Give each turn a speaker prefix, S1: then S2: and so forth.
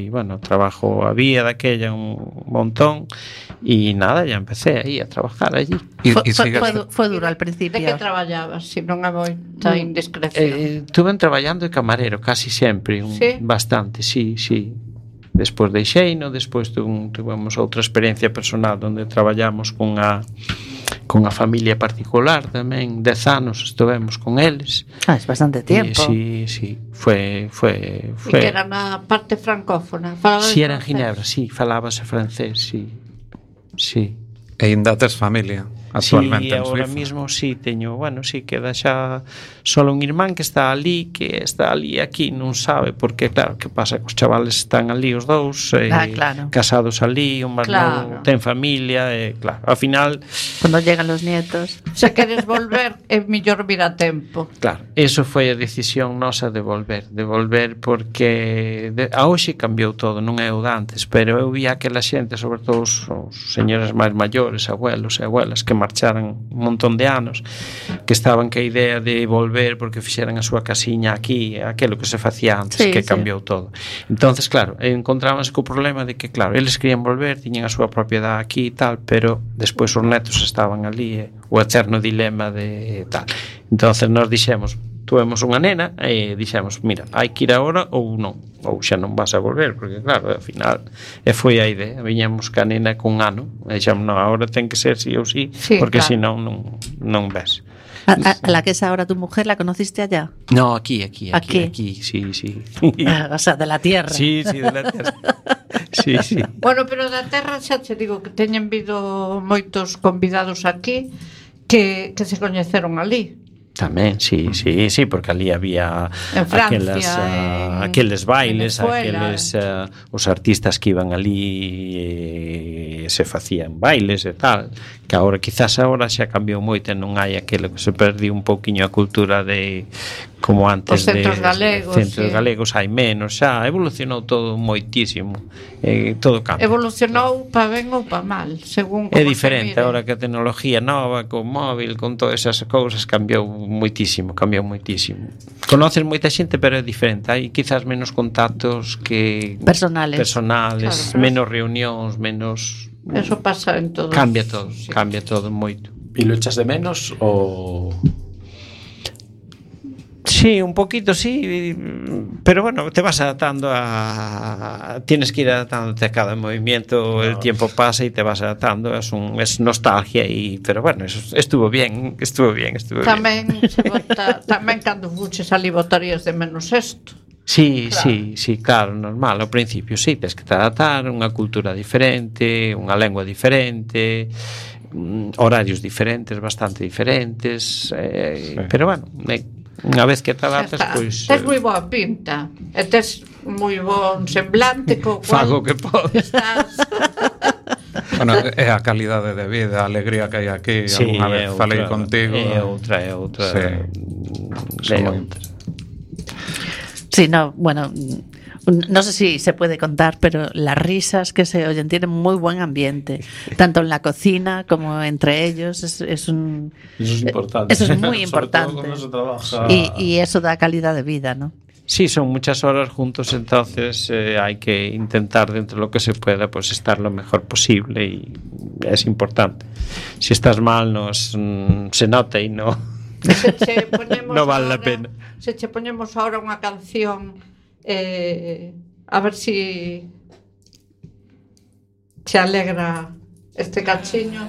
S1: ali, bueno, trabajo había daquella un montón y nada, ya empecé ahí a trabajar allí.
S2: Fue duro al principio.
S3: De que traballabas, se non é moita indiscreción?
S1: Estuve traballando de camarero casi sempre,
S3: ¿Sí?
S1: bastante, sí. Despois deixeino, despois tuvemos outra experiencia personal onde traballamos cunha familia particular tamén, 10 anos estivemos con eles.
S2: Es bastante tempo.
S1: Sí, foi.
S3: E que era na parte francófona?
S1: Si, era en Ginebra, sí, falábase francés, sí.
S4: E ainda tes familia actualmente en
S1: Suiza? Sí, agora mismo sí teño, bueno, sí, queda xa solo un irmán que está ali aquí, non sabe, porque claro, que pasa, os chavales están ali os dous,
S2: claro.
S1: Casados ali, un máis novo, ten familia, claro, ao final
S2: cando llegan los nietos.
S3: Se queres volver, é mellor vir a tempo.
S1: Claro, eso foi a decisión nosa de volver porque a hoxe cambiou todo, non é o de antes, pero eu vi aquela xente, sobre todo os señores máis maiores, abuelos e abuelas que marcharan un montón de anos, que estaban que a idea de volver porque fixeran a súa casiña aquí, aquilo que se facía antes, que cambiou todo. Entonces, claro, encontrábanse co problema de que, claro, eles querían volver, tiñan a súa propiedade aquí e tal, pero despois os netos estaban ali, o eterno dilema de tal. Entonces nos dixemos, tuvemos unha nena e dixemos, mira, hai que ir agora ou non, ou xa non vas a volver, porque claro, ao final foi a idea, viñamos ca nena con un ano e dixemos, non, agora ten que ser sí ou sí, porque claro, senón non ves.
S2: ¿A la que es ahora tu mujer la conociste allá?
S1: No, aquí, sí.
S2: O sea, de la tierra.
S1: Sí, de la tierra. Sí.
S3: Bueno, pero da terra xa te digo que teñen vido moitos convidados aquí que se coñeceron ali.
S1: Tamén, sí, porque ali había
S3: en Francia,
S1: aqueles bailes, aqueles os artistas que iban ali se facían bailes e tal, que agora quizás xa cambiou moito e non hai aquilo que se perdiu un pouquiño a cultura de como antes,
S3: os centros galegos.
S1: Centros galegos hai menos, xa evolucionou todo moitísimo, todo cambia.
S3: Evolucionou pa ben ou pa mal, según
S1: é diferente agora que a tecnología nova, con móvil, con todas esas cousas, cambiou moitísimo. Conoces moita xente, pero é diferente, hai quizás menos contactos que personales, claro, menos reunións, menos.
S3: Eso pasa en todo.
S1: Cambia todo moito.
S5: E lo echas de menos ou?
S1: Sí, un poquito sí, pero bueno, te vas adaptando tienes que ir adaptándote a cada movimiento, el tiempo pasa y te vas adaptando, es nostalgia pero bueno, eso estuvo bien.
S3: Tamén cando fuches ali botarías de menos esto.
S1: Sí, claro, normal, ao principio sí, tens que te adaptar, unha cultura diferente, unha lengua diferente, horarios diferentes, bastante diferentes, pero bueno, unha vez que te adaptas, pois
S3: tes moi boa pinta e tes moi bon semblante co cual
S1: fago que podes.
S4: Bueno, é a calidade de vida, a alegría que hai aquí, alguna vez falei contigo.
S1: É outra.
S2: Sí, no, bueno, no sé si se puede contar, pero las risas que se oyen tienen muy buen ambiente, tanto en la cocina como entre ellos. Eso es importante. Eso es muy importante. Y eso da calidad de vida, ¿no?
S1: Sí, son muchas horas juntos, entonces hay que intentar dentro de lo que se pueda pues estar lo mejor posible y es importante. Si estás mal se nota y no vale la pena.
S3: Se che poñemos ahora unha canción a ver si se alegra este cachiño.